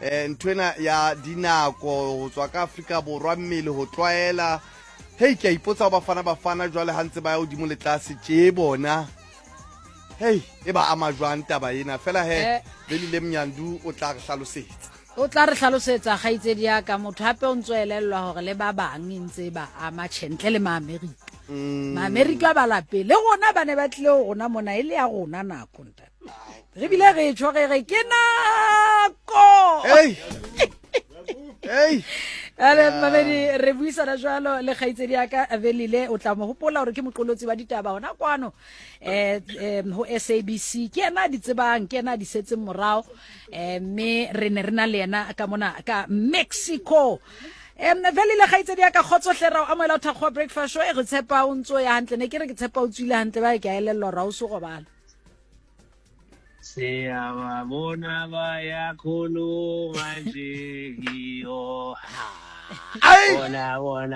um nthwena ya dinako go tswa ka Afrika Borwa mmele go tlwaela. Hei, ke a ipotsa go Bafana Bafana jwale ha ntse ba ya godimo le tlase tše bona. Hei, e ba ama jwang taba ena? Fela he, eh. Velile Mnyandu o tla re hlalosetsa. O tla re hlalosetsa kgaitsedi ya ka motho hape o ntse o elellwa hore le ba bang e ntse e ba ama tjhe ntle le Maamerika. Maamerika ba lapeng le rona ba ne ba tlile ho rona mona e le ya rona nako ntate. Re bile re tjho re re ke nako. Hey. Hey. Ale mamedi re buisana jwalo le kgaitsedi ya ka Velile o tla mo hopola hore ke moqolotsi wa ditaba hona kwano eh ho SABC ke yena di tsebang ke yena di setseng morao eh mme re ne re na le yena ka mona ka Mexico. Velile kgaitsedi ya ka kgotso hle ra o amohela ho Thakgowa Breakfast Show e re tshepa o ntso ya hantle ne ke re ke tshepa o tswile hantle ba ke a elellwa hore ha o so robala. Siyababona bayakhuluma nje iyo. Ai! Bona bona.